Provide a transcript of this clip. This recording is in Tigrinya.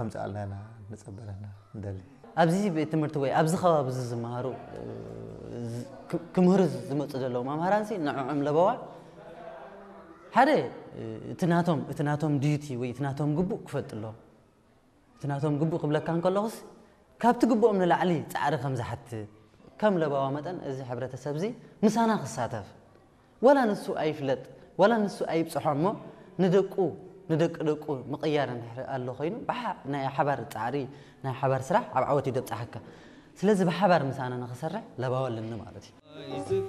ከምፅኣልና ኢና ንፀበለና ንደሊ። ኣብዚ ቤት ትምህርቲ ወይ ኣብዚ ከባቢ እዚ ዝመሃሩ እ፣ ዝ- ክ- ክምህሩ ዝመፁ ዘለዉ መምሃራንሲ ንዕዖም ለበዋ ሓደ እ፣ እቲ ናቶም እቲ ናቶም ዲዩቲ ወይ እቲ ናቶም ግቡእ ክፈልጡ ኣለዎም። እቲ ናቶም ግቡእ ክብለካ እንከለኹስ ካብቲ ግቡኦም ንላዕሊ ፃዕሪ ከም ዝሓትት ከም ለባዋ መጠን እዚ ሕብረተሰብ እዚ ምሳና ክሳተፍ ወላ ንሱ ኣይፍለጥ ወላ ንሱ ኣይብፅሖ እሞ ንደቁ ንደቂ ደቁ ምቕያር እንድሕር ኣሎ ኮይኑ ብሓ- ናይ ሓባር ፃዕሪ ናይ ሓባር ስራሕ ኣብ ዓወት እዩ ደብፅሓካ። ስለዚ ብሓባር ምሳና ንክሰርሕ ለባዋ ኣለኒ ማለት እዩ።